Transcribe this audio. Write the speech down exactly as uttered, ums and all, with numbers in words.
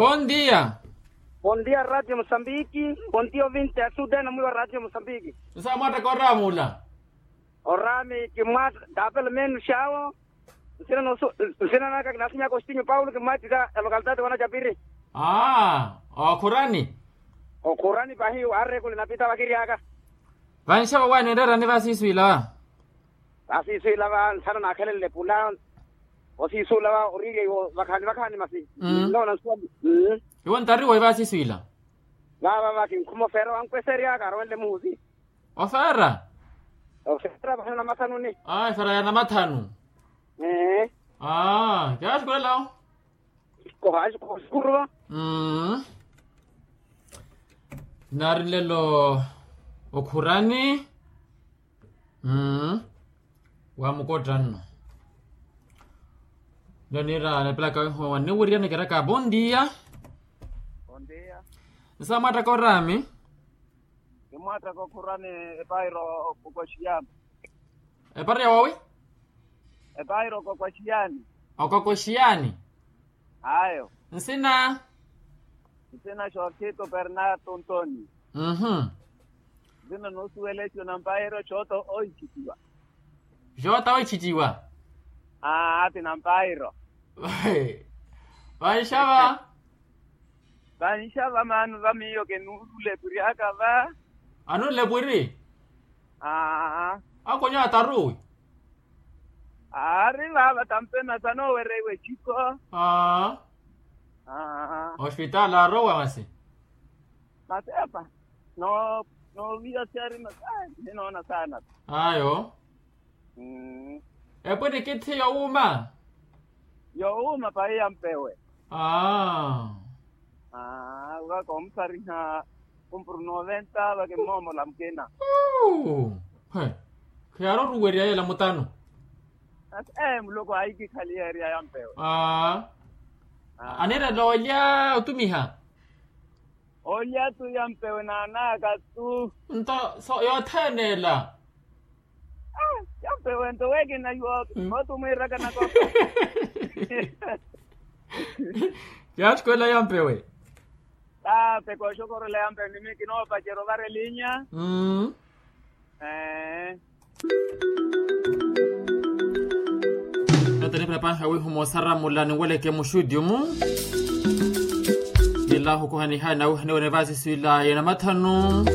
Bondia. Bondia radio mosambiki. Bondia ovinte asudena mwiwa radio mosambiki. Nsamwattaka oraamula. Oraami kimwatta tapelo meenu xawo. Nsina naka kinasinyaka ostinyu paulo kimwattita elokaltati wana japiri. Aa okhurani. Okhurani pahi waarekuli napita vakiryaka. Vanxava waani enreerani vasiiswiila va. Vasiiswiila va nthano naakhelenle pula. Osiisula va oriirya iwo vakhaani vakhaani masi. Nnoona nsuwa. Iwo ntariwa ivasiiswiila. Vava va kinkhuma ofeera wankweseryaka arowenle muhusi. Ofeera. Ofeera vahana namathanuni. Aa efeera ya namathanu. Ee. Aa kiyaaxukulela. Kohaxukuruva. Nari nlelo okhurani. Wamukotta nno. Nlo niira lepelaka wiiho wanniwirya nikiraka bondia. Nsamwattaka oraami. Kimwattaka okhurani. Epairo okoxiyani. Epairo ya wawi? Epairo okokoxiyani. Okokoxiyani. Ayo. Nsina? Nsina xorkito pernato ntoni. Nsina noosuwela eco nampairo xooto oichitiwa. Xooto oichitiwa. Aa ati nampairo. Vanxava. Vanxava maano va miyo kenuulule pwiryaka va. Anuule pwiri. Aa. Akonyo ataruwi. Aari vaava tampena sanoowereiwa echiko. Aa. Ospitaali aarowa masi. Masi epa. Nooviya siyari masi. Ninoona saana. Ayo. Epwini kithi yowuuma. Yowuuma pahi ya mpewe. Aa. Aa vaka omusariha kumpuru noventa vaka emmoomola mukina. He. Khiyaari oruwerya yela mutano. Asi ee muloko ahikikhaliherya ya mpewe. Aa. Aniirela olya otumiha. Olya tu ya mpewe naanaka tu. Nto so yothene ela. Yampewe nto wekina yooto mooto mwiiraka nako. Yaaxukulela yampewe. Tape kooxokorola yampewe nimi kinoopacerya ovara elinya. Nata nipira panha wihuma osaramula ninweleke muxudiumu. Nilahu kuhaniha nawihaniwa nivasiswila yenamathanu.